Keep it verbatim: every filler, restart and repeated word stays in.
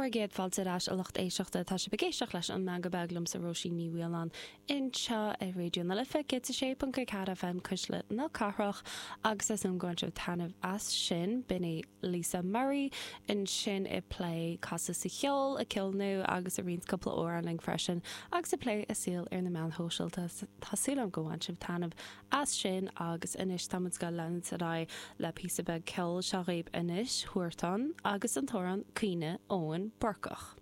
Bhur gcéad fáilte ar ais a lucht éisteachta tá sibh ag éisteacht leis an Meangadh Beag liomsa Róisín Ní Mhaoláin anseo ar Raidió na Life céad a sé ponc ceathair FM Cuisle na Cathrach agus is um go sibh taitneamh as sin b'in í Lisa Murray ansin ag plé casadh sa cheol a ceol nua agus a roinnt cúpla amhrán linn freisin agus ag plé a saol ar na meáin shóisialta Tá súil agam go bhain sibh taitneamh as sin agus anois táimid ag leanúint ar aghaidh le píosa beag ceoil seo dhaoibh anois Huartan agus an t-amhrán Caoineadh Eoin Búrcach.